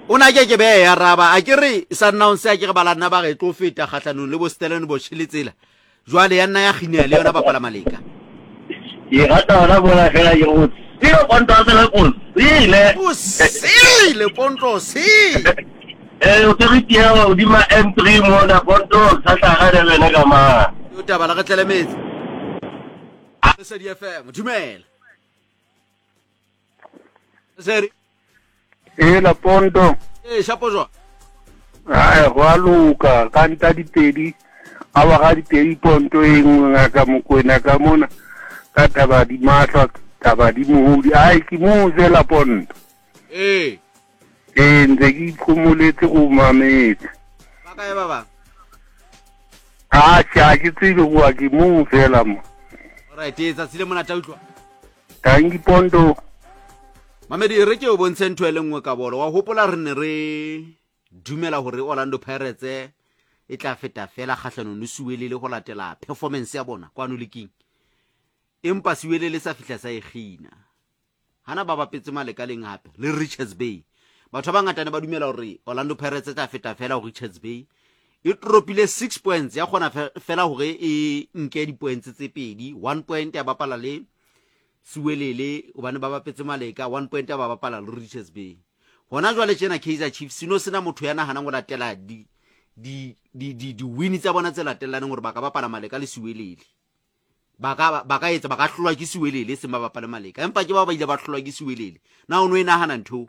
O na ke ke be ya raba a ke re Sundowns a ke re ba la nna ba re tlo feta kgahlanong le bo Stellenbosch le tsela. Jwale ya nna ya kginea le yona bapala maleka. Ke rata hona mona fela ke go sile ponto a sele o sile. O sile ponto sile. Eh o tsere tiya hodima M3 mona ponto sa hlaga le wena ka mang. Yo taba la re tlele metsi. Lesedi FM dumela. Seri. Hela Ponto. Ee, shapo jwa. Ai, go a loka ka nta dipedi a wa ga dipedi Ponto e nngwe ngaka Mokwena ka mona ka thaba di mahlwa thaba di mohodi ai ke mo fela Ponto. Ee. Ee ntse ke iphomoletse go mametse. Ba kae ba bang? A ke ke tsebe goa ke mo fela mo. Alright, ee tsatsi le monate a utlwa. Tanki Ponto. Mamedi e re ke o bontshe ntho e le nngwe ka bolo. Wa hopola re ne re dumela hore Orlando Pirates e tla feta fela kgahlanong le Siwelele go latela performance ya bona kwano leking. Empa Siwelele sa fihla sa e kgina. Hana ba bapetse malekaleng hape le Richards Bay. Batho ba bangata ne ba dumela hore Orlando Pirates e tla feta fela ho Richards Bay. E tropile 6 points ya kgona fela hore e nke di-points tse pedi. 1 point ya bapala le Siwelele hobane ba bapetse Maleka, 1 point ya ba bapala le Richards Bay. Hona jwale tjena Kaizer Chiefs seno sena motho ya nahanang ho latela di di di di di-win tsa bona tse latellaneng hore ba ka bapala Maleka le Siwelele. Ba ka ba ka etsa ba ka hlolwa ke Siwelele e seng ba bapale Maleka, empa ke bao ba ile ba hlolwa ke Siwelele. Na o no e nahana ntho eo?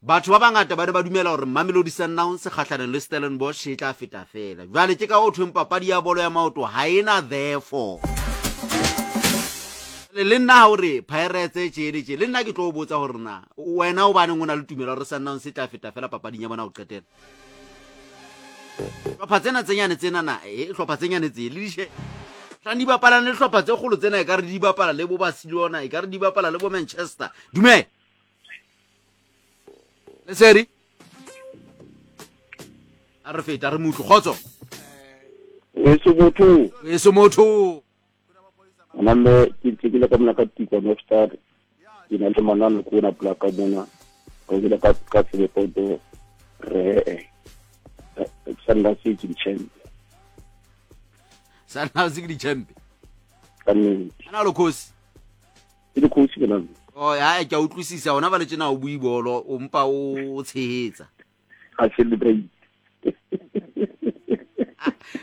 Batho ba bangata ba ne ba dumela hore Mamelodi Sundowns kgahlanong le Stellenbosch e tla feta feela. Jwale ke ka ho thweng papadi ya bolo ya maoto ha e na therefore. Le le nna ha o re Pirates tje le tje, le nna ke tlo o botsa hore na wena o baneng o na le tumelo hore Sundowns e tla feta feela papading ya bona ho qetela. Hlopha tsena tse nyane tsena na, e hlopha tse nyane tse le dishe. Hlang di bapalang le hlopha tse kgolo tsena e ka re di bapala le bo Barcelona, e ka re di bapala le bo Manchester. Dumela. Lesedi. A re feta re mutlo kgotso. Weso motho. Weso motho. Nna ke ntse ke le ka mona ka Tikwa North Star. Ke na le manane ko na pula ka mona. Ka ke le ka ka tsebe poto re eh. Sundowns ke di champ. Sundowns ke di champ. Ka nnete. Ana lo khosi. Ke le coach ke nna. Oh ya ke a utlwisisa ona ba le tjena o bue bolo o mpa o tshehetsa. A celebrate.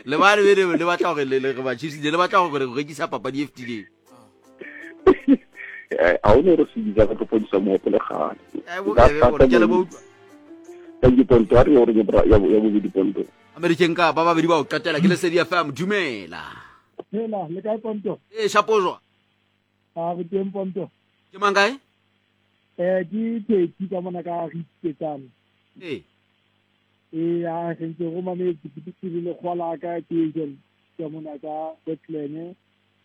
Le ba le le batla hore le re ba Chiefs le batla hore re rekisa papadi e fetileng. Eh, a o ne re se bitsa ka tlo fodisa mohopo le gale. Eh, ke le bo utlwa. Thank you Ponto, a re gore ya bobedi Ponto. American ka ba babedi ba o qetela ke Lesedi FM dumela. Hela, le kae Ponto? Eh, shapojwa. A re teng Ponto. Ke mang kae? Eh, ke Phetsi ka mona ka Ritseketsane. Ee. Ee, a re ntse go mametse ke tsiri le kgola ka ke agent ka mona ka Bethlehem.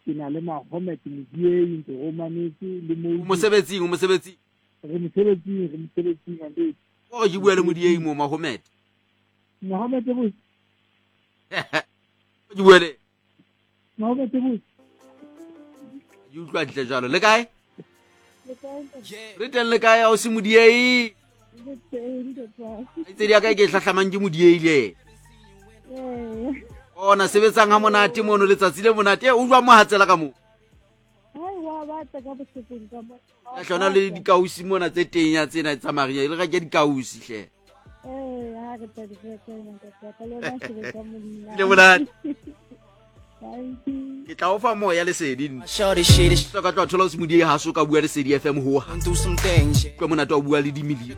Ke na le Mahomet Modiei ntse go mametse le mo. O mosebetsing, o mosebetsing. Re mosebetsing, re mosebetsing ande. O ke bua le Modiei mo Mahomet. Mahomet bo. Ke bua le. Mahomet bo. Ke utlwa ntle jalo. Le kae? Re teng le kae o se Modiei? Tse di ya kae ke hlahlamang ke Modiei le ena. Ona sebetsang ha monate mono letsatsi le monate. O jwa mo hatsela ka mo. Ya hlona le dikausi mona tse teng ya tsena tsa maria le reke dikausi hle. Le monate. Ke tla o fa moya lesedi nna. Ka tla thola o se Modiei ha so ka bua Lesedi FM ho. Tlo monate wa bua le dimillion.